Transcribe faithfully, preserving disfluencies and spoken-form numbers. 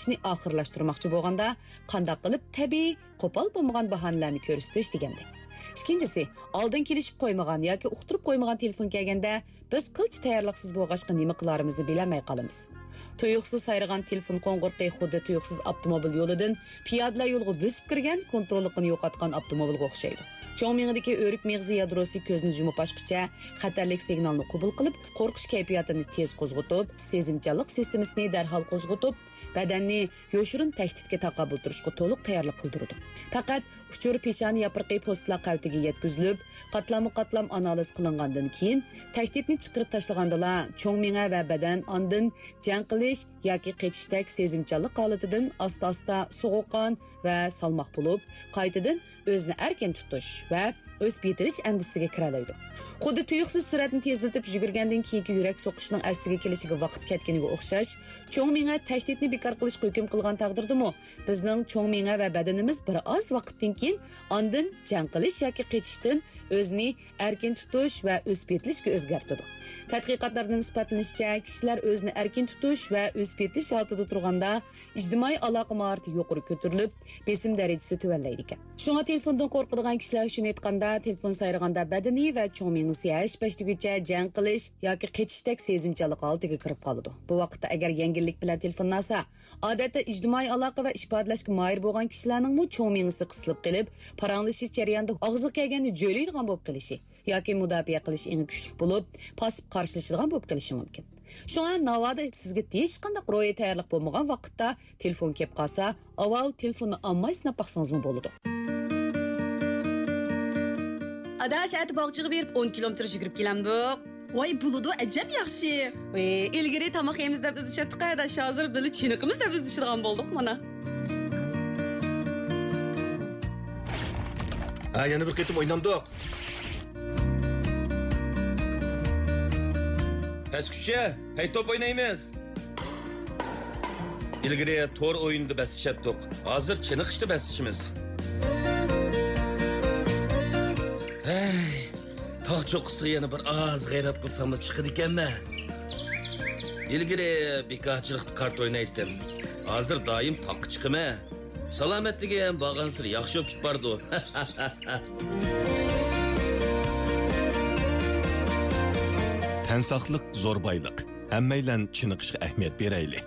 ئىشنى ئاخىرلاشتۇرماقچى بولغاندا، قانداق قىلىپ تەبىئىي، قوپال بولمىغان باھانىلەرنى كۆرسىتىش دېگەندەك. ئىككىنچىسى، ئالدىن كېلىشىپ قويمىغان ياكى ئۇقتۇرۇپ قويمىغان تېلېفون كەلگەندە، بىز قىلچە تەييارلىقسىز بولغاچقا نېمە قىلارىمىزنى بىلەلمەي قالىمىز. تۇيۇقسىز سايرىغان تېلېفون قوڭغۇرىقى خۇددى تۇيۇقسىز ئاپتوموبىل يولىدىن پىيادىلەر يولىغا بۆسۈپ كىرگەن، كونتروللۇقىنى يوقاتقان ئاپتوموبىلغا ئوخشايدۇ. چوڭ مېڭىدىكى ئۆرۈك مېغىزى يادروسى كۆزنى يۇمۇپ ئاچقۇچە خەتەرلىك سىگنالنى قوبۇل قىلىپ، قورقۇش كەيپىياتىنى تېز قوزغىتىپ، سېزىمچانلىق سىستېمىسىنى دەرھال قوزغىتىپ، بەدەننى يوشۇرۇن تەھدىتكە تاقابىل تۇرۇشقا تولۇق تەييارلىق قىلدۇرىدۇ. پەقەت ئۇچۇر پېشانە ياپرىقى پوستىلار قەۋىتىگە يەتكۈزۈلۈپ، قاتلاممۇ قاتلام ئانالىز قىلىنغاندىن كېيىن، تەھدىتنى چىقىرىپ تاشلىغاندىلا، چوڭ مېڭە ۋە بەدەن ئاندىن جەڭ قىلىش ياكى قېچىشتەك سېزىمچانلىق ھالىتىدىن ئاستا-ئاستا سوغۇققان ۋە سالماق بولۇپ، قايتىدىن ئۆزىنى ئەركىن تۇتۇش ۋە ئۆسۈپ يېتىلىش ئەندىزىسىگە كىرەلەيدۇ. خۇددى تۇيۇقسىز سۈرئەتنى تېزلىتىپ يۈگۈرگەندىن كېيىنكى يۈرەك سوقۇشنىڭ ئەسلىگە كېلىشىگە ۋاقىت كەتكىنىگە ئوخشاش، چوڭ مېڭە تەھدىتنى بىكار قىلىشقا ھۆكۈم قىلغان تەقدىردىمۇ، بىزنىڭ چوڭ مېڭە ۋە بەدىنىمىز بىر ئاز ۋاقىتتىن كېيىن ئاندىن جەڭ قىلىش ياكى قېچىشتىن ئۆزىنى ئەركىن تۇتۇش ۋە ئۆسۈپ يېتىلىشكە ئۆزگەرتىدۇ. تەتقىقاتلاردا ئىسپاتلىنىشىچە، كىشىلەر ئۆزىنى ئەركىن تۇتۇش ۋە ئۆسۈپ يېتىلىش ھالىتىدە تۇرغاندا، ئىجتىمائىي ئالاقە ماھارىتى يۇقىرى كۆتۈرۈلۈپ، بېسىم دەرىجىسى تۆۋەنلەيدىكەن. شۇڭا تېلېفوندىن قورقىدىغان كىشىلەر ئۈچۈن ئېيتقاندا، تېلېفون سايرىغاندا بەدىنى ۋە چوڭ مېڭىسى ھەش-پەش دېگۈچە جەڭ قىلىش ياكى قېچىشتەك سېزىمچانلىق ھالىتىگە كىرىپ قالىدۇ. بۇ ۋاقىتتا ئەگەر يەڭگىللىك بىلەن تېلېفوننى ئالسا، ئادەتتە ئىجتىمائىي ئالاقە ۋە ئىپادىلەشكە ماھىر بولغان كىشىلەرنىڭمۇ چوڭ مېڭىسى قىسىلىپ قېلىپ، پاراڭلىشىش جەريانىدا ئاغزىغا كەلگەننى جۆيلەيدىغان بولۇپ قېلىشى ياكى مۇداپىئە قىلىش ئېڭى كۈچلۈك بولۇپ، پاسسىپ قارشىلىشىدىغان بولۇپ قېلىشى مۇمكىن. شۇڭا ناۋادا سىزگە ھېچقانداق روھىي تەييارلىق بولمىغان ۋاقىتتا تېلېفون كەپ قالسا، ئاۋۋال تېلېفوننى ئالماي سىناپ باقسىڭىزمۇ بولىدۇ. ئاداش، ئەتە باغچىغا بېرىپ ئون كىلومېتىر يۈگۈرۈپ كېلەمدۇق؟ ۋاي، بولىدۇ، ئەجەب ياخشى. ۋەي، ئىلگىرى تاماق يەيمىز دەپ ئىزدىشەتتۇق، ئاداش، ھازىر بىللە چېنىقىمىز دەپ ئىزدىشىدىغان بولدۇق مانا. ھە، يەنە بىر قېتىم ئوينامدۇق؟ پەسكۈچە، پەي توپ ئوينايمىز. ئىلگىرى تور ئويۇنىدا بەسلىشەتتۇق، ھازىر چېنىقىشتا بەسلىشىمىز. ھەي، تاغ چوققىسىغا يەنە بىر ئاز غەيرەت قىلساملا چىقىدىكەنمەن. ئىلگىرى بىكارچىلىقتا قارت ئوينايتتىم، ھازىر دائىم تاغقا چىقىمەن. سالامەتلىكىم بارغانسېرى ياخشى بولۇپ كېتىپ بارىدۇ. تەن ساقلىق زور بايلىق. ھەممەيلەن چېنىقىشقا ئەھمىيەت بېرەيلى.